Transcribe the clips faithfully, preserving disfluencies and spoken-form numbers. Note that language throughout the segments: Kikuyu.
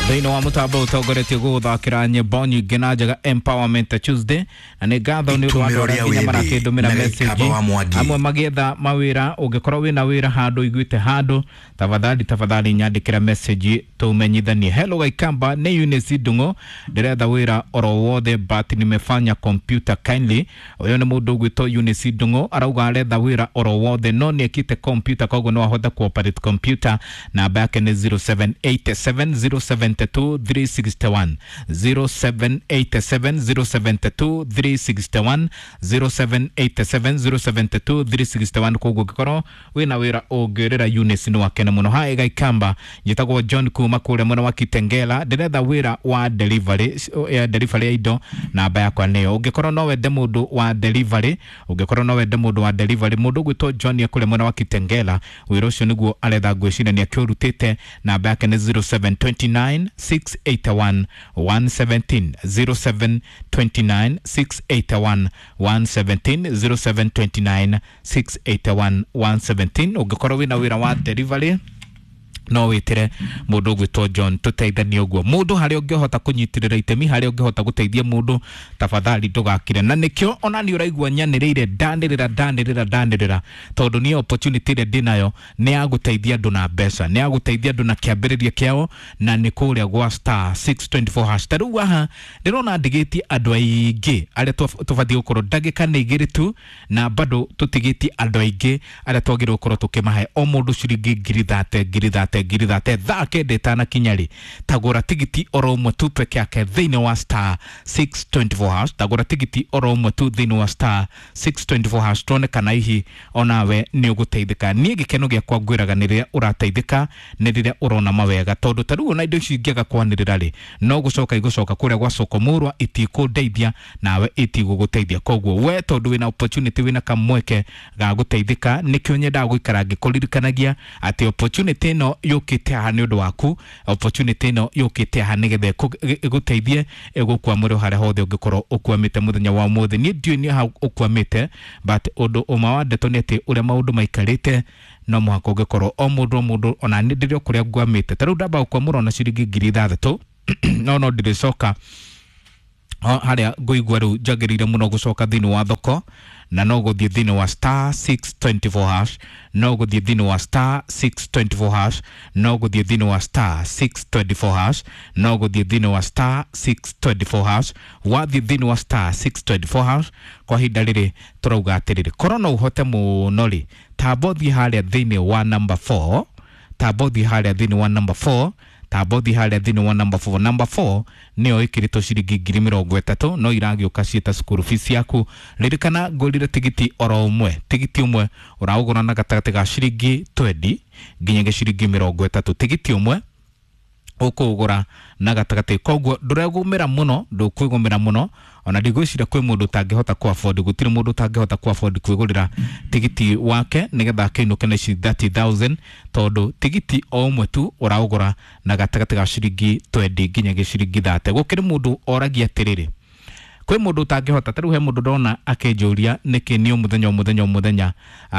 Thĩinĩ wa mũtambo ũtongoretie gũgũthakĩra nyĩmbo nyingĩ na njega Empowerment Tuesday, na nĩ ngatho nĩ ũndũ wa andũ Itumĩro arĩa rĩa nginya wĩthĩ marakĩndũmĩra na message Gĩikamba wa Mwangi. amwe magĩetha mawĩra. Ũngĩkorwo wĩna wĩra handũ iguĩte handũ, tafadhali tafadhali nyandĩkĩra message tũmenyithanie. Hello Gaikamba, nĩ Eunice Ndung'u, ndĩretha wĩra oro wothe but nimefanya computer kindly. Ũyũ nĩ mũndũ ũgwĩtwo Eunice Ndung'u, arauga aretha wĩra oro wothe no nĩ ekĩte computer, koguo no ahote kuoperate computer. Namba yake nĩ zero seven eight seven zero seven two three six one, zero seven eight seven zero seven two three six one, zero seven eight seven zero seven two three six one. Koguo ũngĩkorwo wĩna wĩra ũngĩrĩra Eunice nĩ wakene mũno. Hi Gaikamba, njĩtagwo John kuma kũrĩa mwena wa Kitengela, ndĩretha wĩra wa delivery, ya delivery ya indo. Namba yakwa nĩyo ũngĩkorwo no wende mũndũ wa delivery, ũngĩkorwo no wende mũndũ wa delivery, mũndũ ũgwĩtwo John e kũrĩa mwena wa Kitengela, wĩra ũcio nĩguo aretha, ngwĩciria nĩ akĩũrutĩte. Namba yake nĩ zero seven two nine six eight one one seventeen, zero seven two nine six eight one one seventeen, zero seven two nine six eight one one seventeen. Ũngĩkorwo wĩna wĩra wa delivery no wĩtĩre mũndũ ũgwĩtwo John tũteithanie ũguo. Mũndũ harĩa ũngĩhota kũnyitĩrĩra itemi, harĩa ũngĩhota gũteithia mũndũ, tafadhali ndũgakire. Na nĩkĩo ona nĩ ũraigua nyanĩrĩire, ndanĩrĩra ndanĩrĩra ndanĩrĩra, tondũ niĩ opportunity ĩrĩa ndĩnayo nĩ ya gũteithia andũ na mbeca, nĩ ya gũteithia andũ na kĩambĩrĩria kĩao, na nĩ kũrĩa gwa star six two four hash. Ta rĩu haha ndĩrona ndigĩtie andũ aingĩ arĩa tũbatiĩ gũkorwo, ndagĩka nĩ igĩrĩ tu na bado tũtigĩtie andũ aingĩ arĩa twagĩrĩirwo gũkorwo tũkĩmahe o mũndũ ciringi ngiri thate, ngiri thate, ngiri thate. Thaa kenda ĩtanakinya rĩ, tagũra tigiti oro ũmwe tu peke yake thĩinĩ wa star six two four hash. Tagũra tigiti oro ũmwe tu thĩinĩ wa star six two four hash, tuone kana hihi onawe nĩ ũgũteithĩka. Niĩ gĩkeno gĩakwa ngwĩraga nĩ rĩrĩa ũrateithĩka, nĩ rĩrĩa ũrona mawega, tondũ ta rĩu ona indo ici ingĩaga kwanĩrĩra rĩ, no gũcoka igũcoka kũrĩa gwa soko mũrwa, itikũndeithia nawe itigũgũteithia. Koguo we tondũ wĩna opportunity, wĩna kamweke ga gũteithĩka, nĩkĩo nyendaga gũikara ngĩkũririkanagia atĩ opportunity ĩno yũkĩte haha nĩ ũndũ waku, opportunity ĩno yũkĩte haha nĩgetha ĩgũteithie ĩgũkwamũre harĩa hothe ũngĩkorwo ũkwamĩte mũthenya wa ũmũthĩ. Niĩ ndiũĩ nĩ ha ũkwamĩte, but ũndũ ũmwe wa ndeto nĩ atĩ ũrĩa maũndũ maikarĩte no mũhaka ũngĩkorwo o mũndũ o mũndũ, ona nĩ ndĩrĩ o kũrĩa ngwamĩte. Ta rĩu ndamba gũkwamũra ona ciringi ngiri ithathatũ, no no ndĩrĩcoka harĩa ngũigua rĩu njagĩrĩire mũno gũcoka thĩinĩ wa thoko, na no gũthiĩ thĩinĩ wa star six two four hash, no gũthiĩ thĩinĩ wa star six two four hash, no gũthiĩ thĩinĩ wa star six two four hash, no gũthiĩ thĩinĩ wa star six two four hash. Wathiĩ thĩinĩ wa star six two four hash kwa ihinda rĩrĩ tũrauga atĩrĩrĩ, korwo no ũhote mũno rĩ, tamba ũthiĩ harĩa thĩinĩ wa number four, tamba ũthiĩ harĩa thĩinĩ wa number four, tamba ũthiĩ harĩa thĩinĩ wa number four. Number four nĩyo ĩkĩrĩtwo ciringi ngiri mĩrongo ĩtatũ, no iragĩũka ciĩta school fees yaku. Ririkana ngũrire tigiti oro ũmwe, tigiti ũmwe ũraũgũra na gatagatĩ ga ciringi twenty nginyagia ciringi mĩrongo ĩtatũ, tigiti ũmwe ũkũũgũra na gatagatĩ, koguo ndũregũmĩra mũno, ndũkwĩgũmĩra mũno. Ona ndigwĩciria kwĩ mũndũ ũtangĩhota ku afford, gũtirĩ mũndũ ũtangĩhota ku afford kwĩgũrĩra tigiti wake nĩgetha akĩinũke na ici thirty thousand, tondũ tigiti o ũmwe tu ũraũgũra na gatagatĩ ga ciringi twenty nginyagia ciringi thirty. Gũkĩrĩ mũndũ oragia atĩrĩrĩ, kwĩ mũndũ ũtangĩhota. Ta rĩu he mũndũ ndona akĩnjũria nĩkĩ niĩ o mũthenya o mũthenya o mũthenya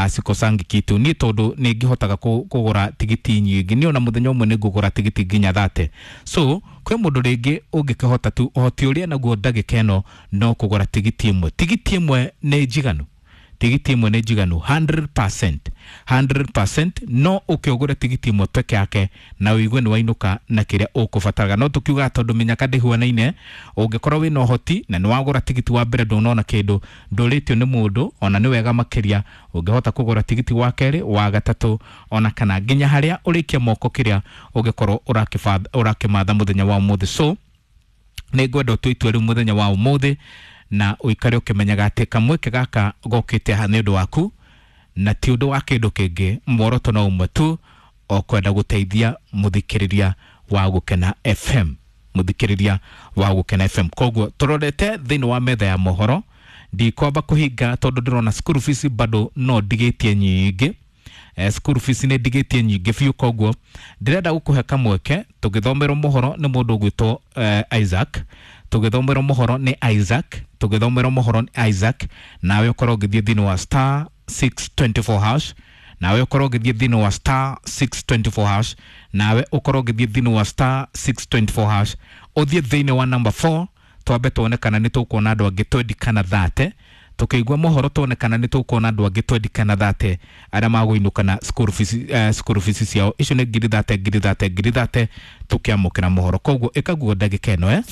sikosangi kitu. Niĩ tondũ nĩ ngĩhotaga kũgũra tigiti nyingĩ, niĩ ona mũthenya ũmwe nĩ ngũgũra tigiti nginya thate. So kwĩ mũndũ rĩngĩ ũngĩkĩhota tu, ũhoti ũrĩa naguo ndagĩka ĩno no kũgũra tigiti ĩmwe. Tigiti ĩmwe nĩ njiganu, tigiti ĩmwe nĩ njiganu hundred percent, hundred percent. No ũkĩũgũre tigiti ĩmwe peke yake na ũigue nĩ wainũka na kĩrĩa ũkũbataraga. No tũkiugaga tondũ mĩnyaka ndĩhuanaine, ũngĩkorwo wĩna ũhoti na nĩ wagũra tigiti wa mbere ndũnona kĩndũ, ndũrĩtio nĩ mũndũ, ona nĩ wega makĩria ũngĩhota kũgũra tigiti wa kerĩ, wa gatatũ, ona kana nginya harĩa ũrĩkie moko kĩrĩa ũngĩkorwo ũrakĩmatha mũthenya wa ũmũthĩ. So nĩ ngwenda ũtue itua rĩu mũthenya wa ũmũthĩ na ũikare ũkĩmenyaga atĩ kamweke gaka gokĩte haha nĩ ũndũ waku na ti ũndũ wa kĩndũ kĩngĩ. Muoroto no ũmwe tu, o kwenda gũteithia mũthikĩrĩria wa Gũkena F M, mũthikĩrĩria wa Gũkena F M. Koguo tũrorete thĩinĩ wa metha ya mohoro, ndikwamba kũhinga tondũ ndĩrona school fees bado no ndigĩtie nyingĩ. Eh, school fees nĩ ndigĩtie nyingĩ biũ, koguo ndĩrenda gũkũhe kamweke tũgĩthomerwo mohoro nĩ mũndũ ũgwĩtwo eh, Isaac, tũgĩthomerwo mohoro nĩ Isaac, tũgĩthomerwo mohoro nĩ Isaac, nawe ũkorwo ũgĩthiĩ thĩinĩ wa star six two four hash Nawe ukorwo ũgĩthiĩ thĩinĩ wa star six twenty four hash, nawe ukorwo ũgĩthiĩ thĩinĩ wa star six twenty four hash, ũthiĩ thĩinĩ wa number four, twambe tuone kana nĩ tũkuona andũ angĩ twenty kana thirty. Tukĩigua mohoro tuone kana nĩ tũkuona andũ angĩ twenty kana thirty arĩa magũinũka na school fees, uh, school fees ciao. Icio nĩ ngiri thate, ngiri thate, ngiri thate tũkĩamũkĩra mohoro. Koguo ĩkaguo ndagĩka ĩno, eh?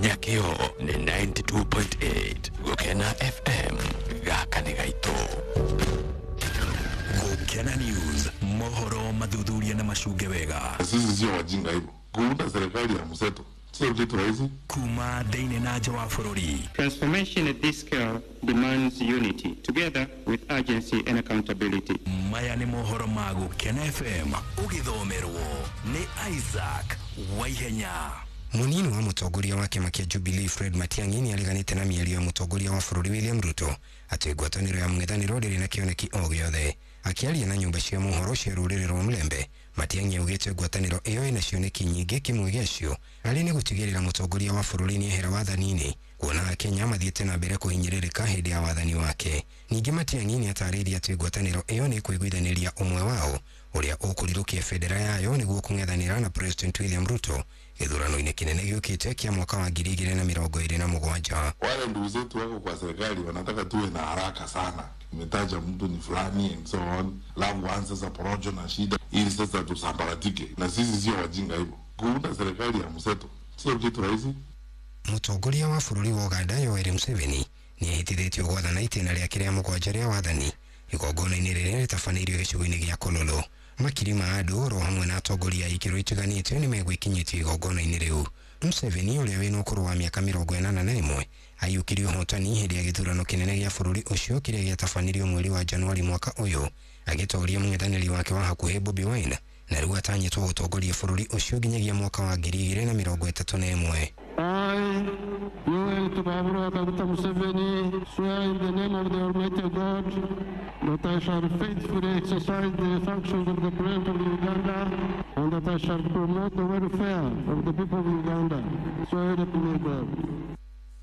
Nyakio ni ninety two point eight Gukena F M gaka nĩ gaitũ. Gukena News, mohoro mathuthuria na macunge wega. Sisi sio wajinga hivyo kuunda serikali ya mseto sio kitu rahisi. Kuma thĩinĩ na nja wa bũrũri. Transformation at this scale demands unity together with urgency and accountability. Maya nĩ mohoro ma Gukena F M ũgĩthomerwo nĩ Isaac Waihenya. Munini wa mũtongoria wa kĩama kĩa Jubilee Fred Matiang'i nĩareganĩte na mĩario ya mũtongoria wa bũrũri William Ruto atĩ ngwatanĩro ya mũng'ethanĩro ndĩrĩ na kĩoneki o gĩothe. Akĩaria na nyũmba cia mohoro cia rũrĩrĩ rwa Mulembe, Matiang'i augĩte ngwatanĩro ĩyo ĩna cioneki nyingĩ, kĩmwe gĩacio arĩ nĩ gũtigĩrĩra mũtongoria wa bũrũri nĩehera wathani-inĩ, kuona Akenya mathiĩte na mbere kũhinyĩrĩrĩka hĩndĩ ya wathani wake. Ningĩ Matiang'i nĩatarĩirie atĩ ngwatanĩro ĩyo nĩ ĩkũiguithanĩria ũmwe wao ũrĩa ũkũrirũkia bendera yayo nĩguo kũng'ethanĩra na President William Ruto gĩthurano-inĩ kĩnene gĩũkĩte kĩa mwaka wa ngiri igĩrĩ na mĩrongo ĩrĩ na mũgwanja. Wale ndugu zetu wako kwa serikali wanataka tuwe na haraka sana, imetaja mtu ni fulani and so on, alafu anza sasa porojo na shida ili sasa tusambaratike, na sisi sio wajinga hivyo. Kuunda serikali ya mseto sio kitu rahisi. Mũtongoria wa bũrũri wa Uganda Yoweri Museveni nĩehĩtithĩtio gwathana itĩna rĩake rĩa mũgwanja rĩa wathani igongona-inĩ rĩrĩa rĩtabanĩirio gĩcigo-inĩ gĩa Kololo. Makiri ma andũ oro hamwe na atongoria a ikĩro itiganĩte nĩmegwĩkinyĩtie igongona-inĩ rĩu. Museveni ũrĩa wĩna ũkũrũ wa mĩaka mĩrongo ĩnana na ĩmwe aiyũkirie ũhotani hĩndĩ ya gĩthurano kĩnene gĩa bũrũri ũcio kĩrĩa gĩatabanirio mweri wa Januari mwaka ũyũ, agĩtooria mũng'ethanĩri wake wa hakuhĩ Bobi Wine, na rĩu atanyĩtwo gũtongoria bũrũri ũcio nginyagia mwaka wa ngiri igĩrĩ na mĩrongo ĩtatũ na ĩmwe. I, Yoweri Kaguta Museveni, swear in the name of the Almighty God that I shall faithfully exercise the functions of the President of Uganda and that I shall promote the welfare of the people of Uganda. So help me God.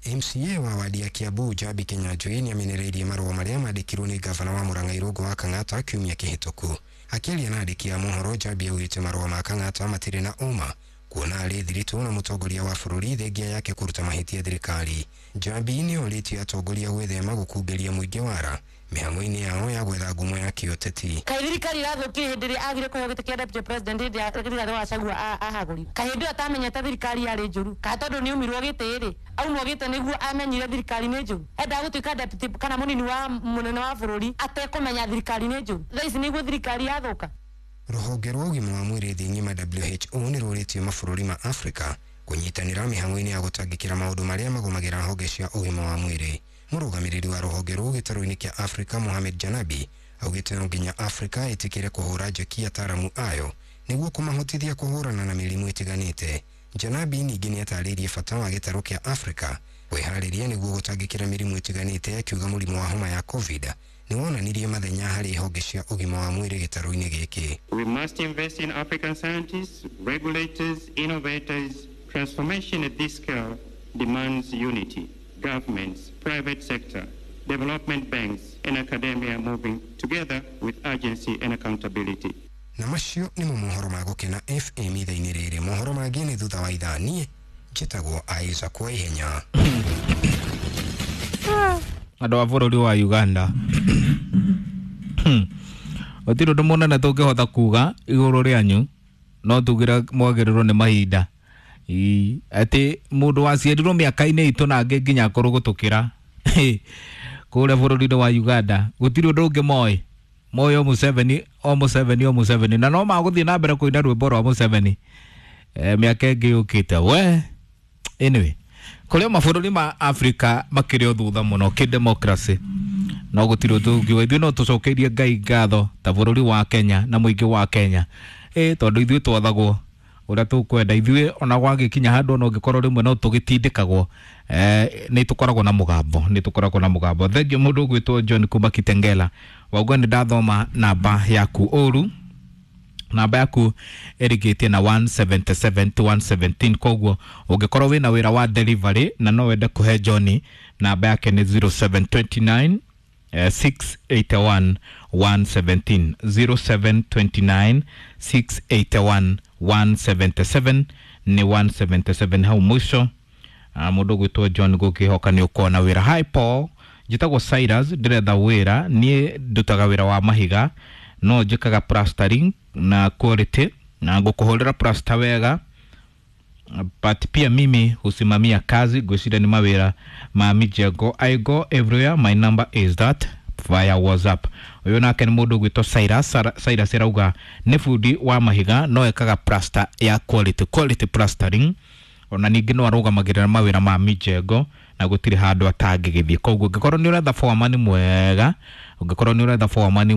M C A wa wadi ya Kiambu Njambi Kinyanjui nĩamenereirie marũa marĩa mandĩkirwo nĩ ngavana wa Murang'a Irũngũ wa Kang'ata kiumia kĩhĩtũku. Akĩaria na andĩki a mohoro, Njambi augĩte marũa ma Kang'ata matirĩ na ũma kuona arĩ thiritũ na mũtongoria wa bũrũri thengia yake kũruta mahĩtia thirikari. Njambi nĩorĩtie atongoria gwĩthema gũkungeria mũingĩ wara mĩhang'o-inĩ yao ya gwetha ngumo ya kĩũteti. Kaĩ thirikari irathũkire hĩndĩ ĩrĩa agire kũheo gĩtĩ kĩa deputy president hĩndĩ ya Rigathĩ wa Gachagua ahagũrirwo? Kaĩ hĩndĩ ĩyo atamenyete thirikari yarĩ njũru? Kaĩ tondũ nĩ aumirwo gĩtĩ rĩ, aumwo gĩtĩ nĩguo amenyire thirikari nĩ njũru? Endaga gũtuĩka deputy kana mũnini wa mũnene wa bũrũri atekũmenya thirikari nĩ njũru? Thaa ici nĩguo thirikari yathũka. Rũhonge rwa ũgima wa mwĩrĩ thĩ ng'ima W H O nĩ rũrĩtie mabũrũri ma Afrika kũnyitanĩra mĩhang'o-inĩ ya gũtangĩkĩra maũndũ marĩa magũmagĩra honge cia ũgima wa mwĩrĩ. Mũrũgamĩrĩri wa rũhonge rũu gĩtarũ-inĩ kĩa Afrika Mohamed Janabi augĩte no nginya Afrika ĩtĩkĩre kũhũra njeki ataaramu ayo nĩguo kũmahotithia kũhũrana na mĩrimũ ĩtiganĩte. Janabi ningĩ nĩatarĩirie bata wa gĩtarũ kĩa Afrika kwĩharĩria nĩguo gũtangĩkĩra mĩrimũ ĩtiganĩte, akiuga mũrimũ wa homa ya COVID nĩwonanirie mathenya harĩ honge cia ũgima wa mwĩrĩ gĩtarũ-inĩ gĩkĩ. We must invest in African scientists, regulators, innovators. Transformation at this scale demands unity. Governments, private sector, development banks and academia moving together with urgency and accountability. Na macio nĩmo mohoro ma Gũkena F M ithaa-inĩ rĩrĩ. Mohoro mangĩ nĩ thutha wa ithaa. Niĩ njĩtagwo Isaac Waihenya. Andũ a bũrũri wa Uganda gũtirĩ ũndũ mũnene tũngĩhota kuga igũrũ rĩanyu, no tugire mwagĩrĩrwo nĩ mahinda. Ĩ atĩ mũndũ waciarirwo mĩaka-inĩ itũ na angĩ nginya akũrũ gũtũkĩra kũrĩa bũrũri-inĩ wa Uganda gũtirĩ ũndũ ũngĩ moĩ, moĩ o Museveni, o Museveni, o Museveni, na no magũthiĩ na mbere kũina rwĩmbo rwa Museveni mĩaka ĩngĩ yũkĩte. We anyway, kũrĩa mabũrũri ma Afrika makĩrĩ o thutha mũno kĩ-democracy, no gũtirĩ ũndũ ũngiuga. Ithuĩ no tũcokeirie Ngai ngatho ta bũrũri wa Kenya na mũingĩ wa Kenya, ĩ tondũ ithuĩ twathagwo ũrĩa tũkwenda. Ithuĩ ona gwagĩkinya handũ ona ũngĩkorwo rĩmwe no tũgĩtindĩkagwo, eh, nĩ tũkoragwo na mũgambo, nĩ tũkoragwo na mũgambo. Thengiũ mũndũ ũgwĩtwo John kuma Kitengela, wauga nĩ ndathoma namba yaku ũru, Namba yaku ĩrigĩtie na one seventy-seven to one seventeen. Koguo ũngĩkorwo wĩna wĩra wa delivery na no wende kũhe John, namba yake nĩ zero seven two nine eh, six eight one one seventeen, zero seven two nine six eight one one seventy-seven. Nĩ one seventy-seven hau mũico. Ah, mũndũ ũgwĩtwo John, gũkĩhoka nĩ ũkona wĩra. Hi Paul, njĩtagwo Cyrus, ndĩretha wĩra. Niĩ ndutaga wĩra wa mahiga, no njĩkaga plastering na quality na ngũkũhũrĩra plaster wega, but pia mimi husimamia kazi. Ngwĩciria nĩ mawĩra ma mijengo. I go everywhere. My number is that via WhatsApp. Ũyũ nake nĩ mũndũ ũgwĩtwo Cyrus. Sara- Cyrus arauga nĩ bundi wa mahiga, no ekaga plaster ya quality, quality plastering, ona ningĩ no arũgamagĩrĩra mawĩra ma mijengo na gũtirĩ handũ atangĩgĩthiĩ. Koguo ũngĩkorwo nĩ ũretha foreman mwega, ũngĩkorwo nĩ ũretha foreman.